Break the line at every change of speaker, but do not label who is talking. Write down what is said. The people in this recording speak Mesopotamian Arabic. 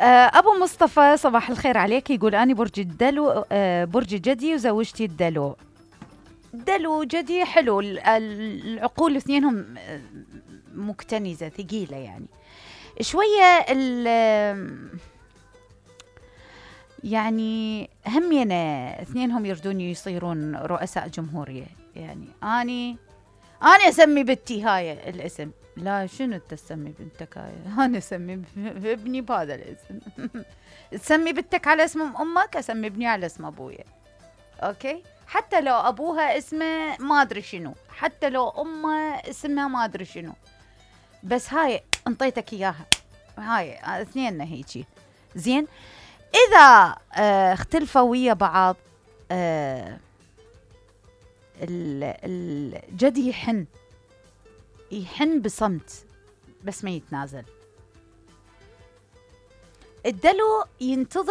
أبو مصطفى صباح الخير عليك. يقول أنا برج الدلو، برج جدي وزوجتي الدلو. دلو جدي حلو، العقول اثنينهم مكتنزة ثقيلة يعني شوية. يعني همينة اثنينهم يردون يصيرون رؤساء جمهورية. يعني أنا أسمي بنتي هاي الاسم. لا شنو تسمي بنتك هاي؟ أنا أسمي ابني بهذا الاسم. تسمي بنتك على اسم أمك، أسمي ابني على اسم أبويا. أوكي، حتى لو أبوها اسمه ما أدري شنو، حتى لو أمه اسمها ما أدري شنو، بس هاي انطيتك إياها، هاي اثنين هيجي زين. إذا اختلفوا ويا بعض، الجد يحن بصمت بس ما يتنازل. الدلو ينتظر